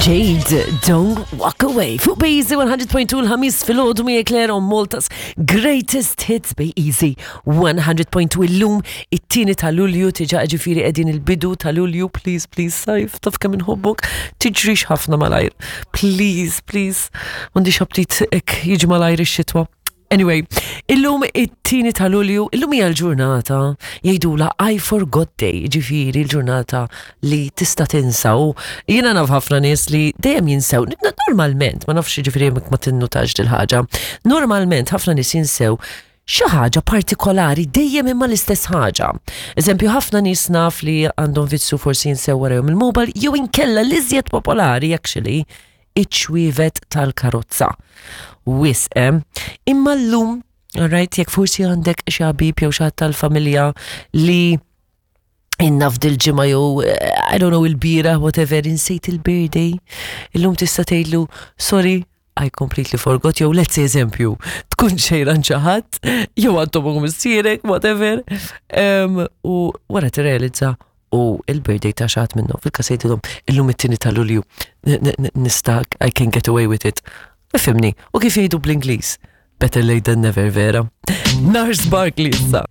Jade, Don't Walk Away. Fuq Bejzi 100.2 l-ħamis fil-ħodu miegħek Claire on Malta's Greatest Hits Bej Easy 100.2 illum it-tieni ta' Lulju tiġa ġifieri qegħdin il-bidu ta' Lulju, please, please, sajf, taf kemm inħobbok, tiġrix ħafna malajr. Please, please, m'għandix aptit hekk jiġi malajr ix-xitwa. Anyway, illum it-tieni ta' Lulju, illum hija l-ġurnata jgħidula I forgot day, ġifieri l-ġurnata li tista' tinsa u jiena naf ħafna nies li dejjem jinsew. Normalment, ma nafx ġifieri ma tinnutax dil-ħaġa, normalment ħafna nies jinsew xi ħaġa partikolari dejjem imma l-istess ħaġa. Eżempju, ħafna nies naf li għandhom vizzju forsi jinsew warahom il-mobile jew inkella l-iżjed popolari actually iċ-ċwievet tal-karozza. Wisq, eh? Imma llum, alright, jekk forsi għandek xi ħabib jew xi ħadd tal-familja li inna f'dil-ġimgħa jew eh, I don't know il-bira, whatever, insejt il-birthday, illum tista' tgħidlu sorry, I completely forgot, jew let's say eżempju, tkun xejran xi ħadd, jew għandhom u missierek, whatever, um, u wara tirrealizza u il-birthday ta' xaħat minnhom fil-każ jgħidilhom illum it-tieni ta' Lulju nista' I can get away with it. Ifhimni, u kif jgħidu bl-Ingliż? Better late than never, vera. Nars Barkley issa.